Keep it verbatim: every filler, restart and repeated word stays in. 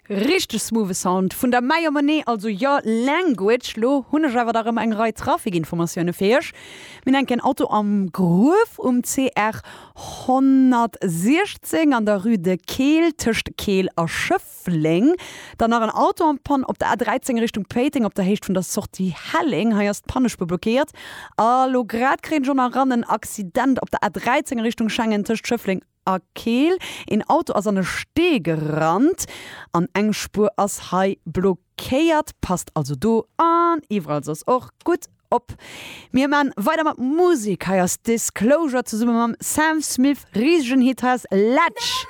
Richteg smoothe Sound vun der Maya Monet, also Your Language. Lo hunn ech awer da rëm eng Rei Trafikinformatioune fir iech. Mir hunn enk en Auto am Gruef um C R honnertsiechzéng an der Rue de Keel tëscht Keel a Schëffleng. Dann nach en Auto en panne op der A dräizéng Richtung Péiteng op der Héicht vun der Sortie Helleng. Hei ass d'Pannespuer blockéiert. A lo grad kréien ech och nach eran en Accident op der A dräizéng Richtung Schengen tëscht Schëffleng a Keel. Een Auto ass an e Stee gerannt an eng Spuer ass hei blockéiert. Passt also do an iwwerall soss och gutt op. Mir man weider mat Musek. Hei ass Disclosure zesumme mam Sam Smith. Risegen Hit, hei ass Latch.